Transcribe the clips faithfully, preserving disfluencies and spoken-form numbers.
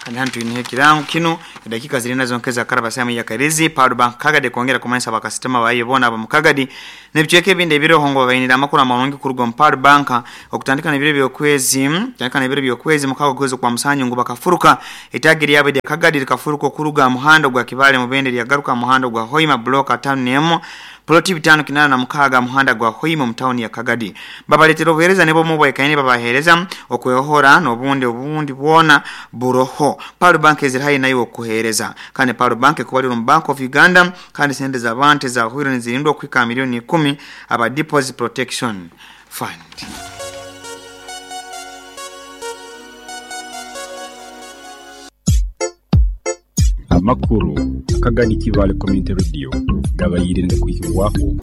Kandi hano twine ekirango kinu, edakika ziri nazo nkeza karaba samu ya Karizi Paul Bank Kagadi kwongera kumanyisa bakasitoma bayo bona aba mukagadi n'ebicweka ebindi ebiroho ngo babainira amakuru amarungi kuruga mu Paul Bank okutandika n'ebiro by'okwezi tandika n'ebiro by'okwezi mukago kwezi kwa musanyu ngo bakafuruka itagiri yabe de Kagadi likafuruka okuruga muhando gwa Kibale mubende lyagaruka muhando gwa Hoima block atano nemu ploti bitano kinana na mukaga muhanda gwa Hoima mu town ya Kagadi. Babaletera obuhereza nebo mu bwekaine babahereza okwehohora n'obundi obundi bwona buroho. Paul Bank ezirahayi nayo okuhereza. Kandi Paul Bank kubalira mu Bank of Uganda kandi sente za bantu za huiro nizirindwa kwika milioni kumi aba Deposit Protection Fund. Amakuru Kagadi Kibale Community Radio gabayirinde kuhirwaho.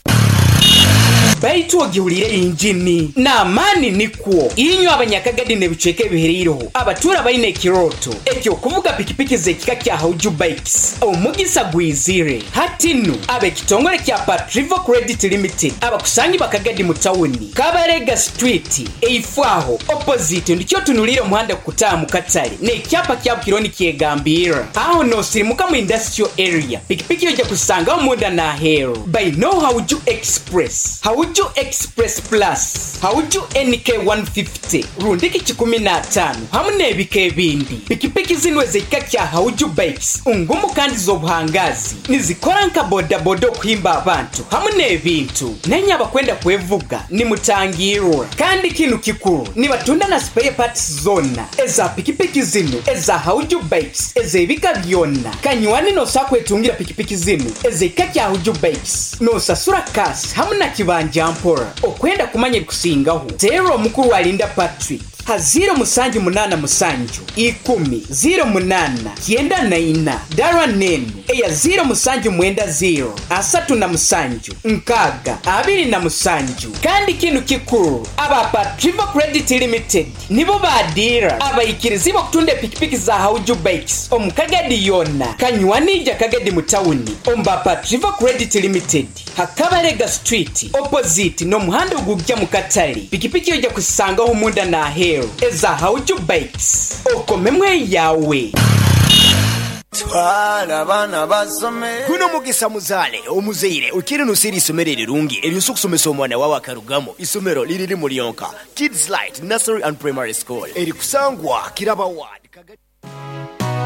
Baitu ogihulire injini n'amaani nikwo inywe abanyakagadi n'ebicweka ebihereireho abatura baine ekiroto ekyokuvuga pikipiki z'ekika kya Hauju Bikes omugisa gwizire. Hati nnu ab'ekitongole kya Patrivo Credit Limited abakusangi bakagadi mu tawuni Kabarega Street eifwaho opposite ndikyo tunulire omuhanda kutaaha mu katale n'ekyapa kya Bukironi kyegambira aho nosirimuka mu industrial area pikipiki ojja kusangaho munda n'aheeru by no Hauju Express, Hauju Express Plus, Hauju N K one fifty, rundiki kikumi na tano hamu n'ebika ebindi. Pikipiki zino ez'ekika kya Hauju Bikes ngumu kandi z'obuhangazi nizikora nka bodaboda okuhimba abantu hamu n'ebintu. Nenye abakwenda kwevuga nimutangirwa. Kandi kinu kikuru nibatunda na spare parts zona eza pikipiki zino eza Hauju Bikes ez'ebika byonna. Kanywani nosakwetungira pikipiki zino ez'ekika kya Hauju Bikes nosasura kasi hamu na kibanja mpora. Okwenda kumanya ebikusingaho tero omukuru alinda Patrick ha ziro musanju munana musanju ikumi ziro munana kyenda na ina dara nenu eya ziro musanju mwenda ziro asatu na musanju nkaga abiri na musanju. Kandi kinu kikuru aba Patrivo Credit Limited nibo badira abayikirizi bakutunda pikipiki za Hauju Bikes omukagadi yona kanywanija Kagadi mutawuni omba Patrivo Credit Limited Hakabarega Street opposite no muhanda ogujja mu katale. Pikipiki ojja kusangaho munda na aheeru eza Hauju Bikes okomemwe yawe. Twala bana basome. Guno mugisa muzale omuzeire ukiri nusiri isomero erirungi eryosa okusomesa omwana wawe akarugamo. Isomero liriri mu lyonka Kids Light Nursery and Primary School erikusangwa Kiraba Ward.